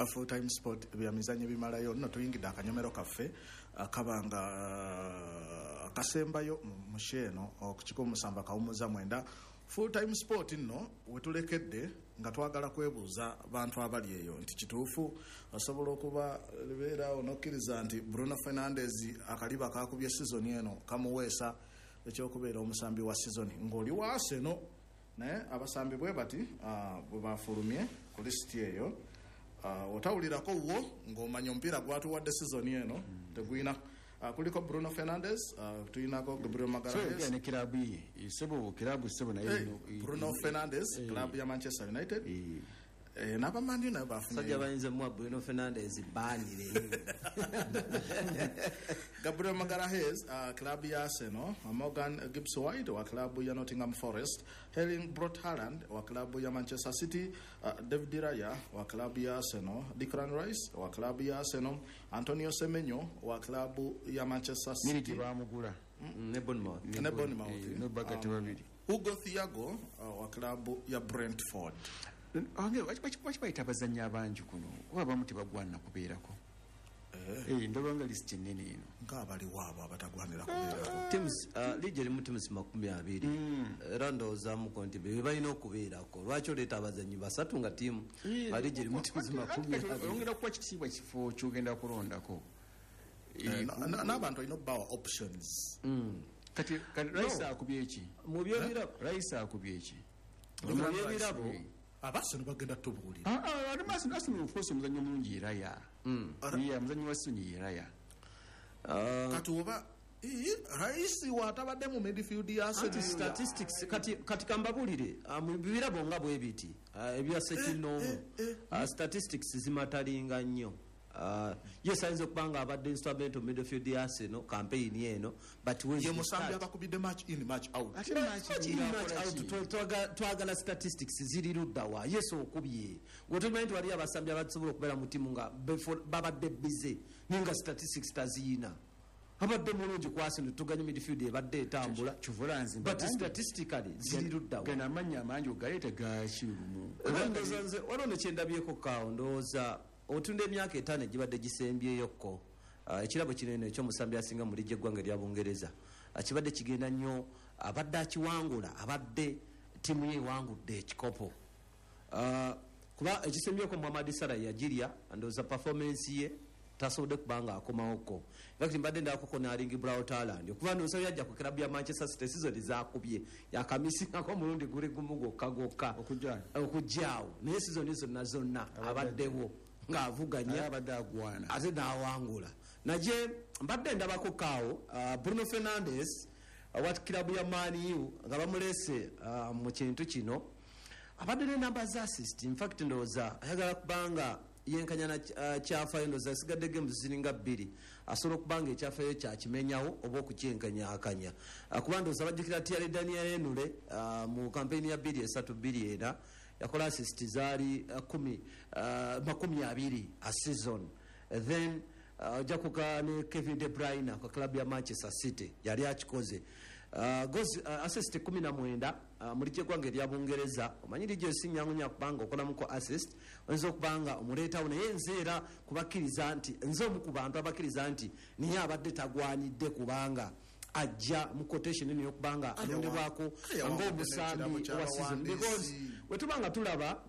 Full Time Sport, byamizanyo bimalayo nno. Tuyingidde akanyomero kaffe akabanga akasembayo mu show eno ku 107.9 Full Time Sport. Nno wetulekedde nga twagala kwebuuza bantu abali eyo nti kituufu osobola okuba libeeraawo nokkiriza nti Bruno Fernandes akaliba kakubye sizoni eno kamuweesa ekyokubeera omusambi wa sizoni ng'oli wa Arsenal? Naye abasambi bwe bati bwe bafulumye ku lisiti eyo, otawulirako wo ng'omanya omupiira gwatuwadde sizoni eno tegulina. Kuliko Bruno Fernandes, tulinako Gabriel Magalhaes. Ne kirabu ye, sebo, kirabu, sebo, naye Bruno Fernandes, club ya Manchester United. N'abamandi nayo Sajja bafunye. Bayinza muwa Bruno Fernandes banire. Gabriel Magalhaes, club ya Arsenal, Morgan Gibbs White wa club ya Nottingham Forest, Erling Brot Haaland wa club ya Manchester City, David Raya wa club ya Arsenal, Declan Rice wa club ya Arsenal, Antonio Semenyo wa club ya Manchester Miri City. Tebamugula. Ne Bournemouth. Ne Bournemouth. Nobagate babiri. Hugo Thiago wa club ya Brentford. Waki bayita abazannyi abangi kuno? Kuba abamu tebagwanira kubeerako. Ndaba nga lisiti ennene eno. Ng'abaliwo abo abatagwanira kubeerako? Teams, liigi erimu teams 20, era ndowoozaamuko nti be balina okubeerako. Lwaki oleeta abazannyi basatu nga tiimu nga liigi erimu teams 20? Oyongera kuwa kitiibwa kifo kyogenda kulondako. N'abantu olina obbawa options. Kati Rice akubye eki? Mu byebirabo. Rice akubye eki? Mu byebirabo. Abaseno bagenda tubuulira. Arsenal, of course, omuzannyo omulungi ye Raya. Ye omuzannyi wa Sony ye Raya. Kati oba Rice watabadde mu midfield ya Anti Arsenal. Statistics, kati kambabulire, mu birabo nga bwe biti, ebya sekinoomu, statistics zimatalinga nnyo. Yes, ayinza okuba nga abadde instrumental midfield ya Arsenal campaign eno, but where's Ye the musambi start? abakubidde match in, match out. Ate match Match in, match akola out, ki? twagala statistics ziri luddawa? Yes, okubye gwetumanyi nti waliyo abasambi abasobola okubeera mu tiimu nga babadde bize naye nga statistics taziyina. Abadde mulungi ku Arsenal, tuganye midfield ebadde etambula, Kivula nze but statistically ziri luddawa? Gano amannya amangi ogaleeta gakirumu. Era ndowooza nze waliwo nekyendabyeko kaawo. Ndowooza otunda emyaka 5 egibadde gisembyeyokko, ekirabo kino eno ekyomusambi asinga mu liigi eggwanga erya Bungereza, kibadde kigenda nnyo abadde akiwangula abadde ttiimu ye ewangudde ekikopo. Kuba ekisembyeko Muhammad Salah yagirya, ndowooza performance ye tasobodde kubanga akomawoko. Infact mbadde ndakoko ne Erling Braut Haaland, okuva ndowooza yajja ku club ya Manchester City, season zakubye yakamisingako omulundi guli gumu gwokka gwokka. Okujja. Okujjaawo, naye season zonna zonna abaddewo ng'avuganya. Abadde agwana. Ate n'awangula. Naye mbadde ndabako kaawo, Bruno Fernandes, wa kilabu ya Man U, nga bamuleese mu kintu kino, abadde ne namba za assist. Infact ndowooza ayagala kubanga yenkanya na kyafayo. Ndowooza asigadde games ziringa bbiri, asobola okubanga ekyafayo kyakimenyawo oba okukyenkanyakanya. Kuba ndowooza bajjukira Thierry Daniel Henry, mu kampeyini ya 2003/24 yakola assist zaali kumi, 20 a season. Then ojja kuka ne Kevin De Bruyne ku club ya Manchester City yali akikoze, goals, assist 19 mu ligi eggwanga erya Bungereza. Omanyi ligi si nyangu nya kubanga okolamuko assist oyinza okubanga omuleetawo, naye nze era kubakkiriza nti nze omu ku bantu abakkiriza nti niye abadde tagwanidde kubanga ajja mu quotation eno eyokubanga alondebwako ng'omusambi wa season, because wetuba nga tulaba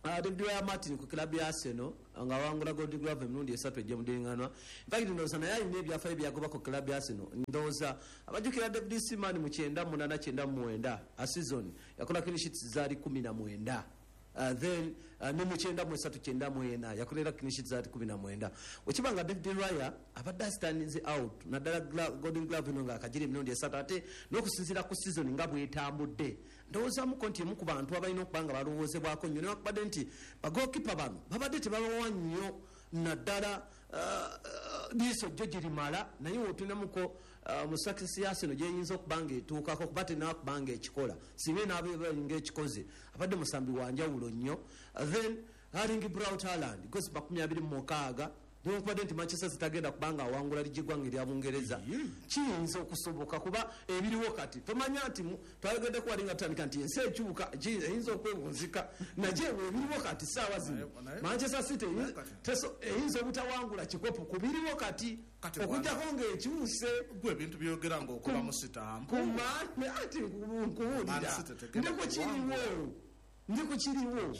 David Raya Martin ku club ya Arsenal nga wangula Gold Glove emirundi esatu egy'omudiŋŋanwa. Infact ndowooza naye alina ebyafaayo byagoba ku club ya Arsenal. Ndowooza abajjukira David Seaman mu 98/99 a season yakola clean sheets zaali 19. Then ne mu 93/94 yakolera clean sheets zaali 19. Wekiba nga David Raya abadde astandinze out naddala Golden Glove eno ng'akagira emirundi esatu, ate n'okusinziira ku season nga bwetambudde, ndowoozamuko nti emu ku bantu abalina okuba nga balowoozebwako nnyo, newakubadde nti bagokipa bano babadde tebabawa nnyo naddala liiso jjo girimala, naye wotunamuko mu success ya Arsenal gyeyinza okuba nga etuukako, kuba tenaba kuba nga ekikola, singa enaaba nga ekikoze abadde musambi wa njawulo nnyo. Then Erling Braut Haaland goals 26. Newankubadde nti Manchester City agenda kubanga awangula ligi eggwanga erya Bungereza, kiyinza okusoboka, kuba ebiriwo kati tomanya nti twayogeddeko wali nga tutandika nti ensi ekyuka, eyinza okwewunzika, naye ebiriwo kati saawa zino Manchester City eyinza obutawangula kikopo ku biriwo kati, okujjako ng'ekyuse. Gwe ebintu byogera ng'okuba mu sitampu. Kumane ati nkubuulira, ndikukiriwo, ndikukiriwo.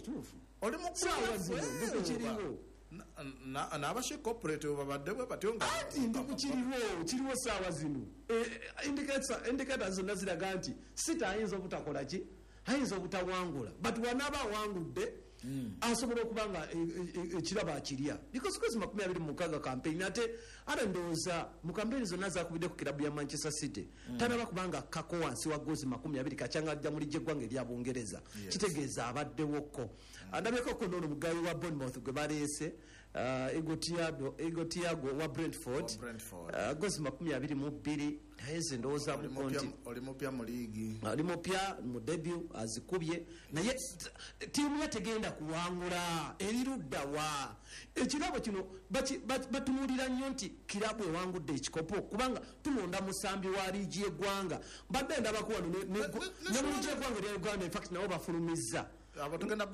Oli saawa zino ndikukiriwo. N'abashi corporate babadde bwe batyo nga anti ndikukiriwo, kiriwo saawa zino. Indicators zonna ziraga nti City ayinza obutakola ki, ayinza obutawangula, but wanaaba awangudde asobola okuba nga ekirabo akirya, because kwezi 26 campaign, ate ate ndowooza mu campaign zonna zakubidde ku kirabu ya Manchester City tanaba kubanga akkako wansi wa gozi 20 kacyanga ajja mu ligi eggwanga erya Bungereza. Kitegeeza abaddewokko. Ndabyeko ko noono mugayi wa Bournemouth gwe baleese, Igo Tiago wa Brentford, gozi 22, naye ze ndowoozamuko nti oli mupya mu liigi, ali mupya mu debut azikubye, naye ttiimu ye tegenda kuwangula, eriruddawa? Ekirabo kino batunuulira nnyo nti kirabu ewangudde ekikopo, kubanga tulonda musambi wa liigi y'eggwanga. Mbadde ndabako wano ne mu liigi y'eggwanga erya Uganda, infact nabo bafulumizza abo tugenda.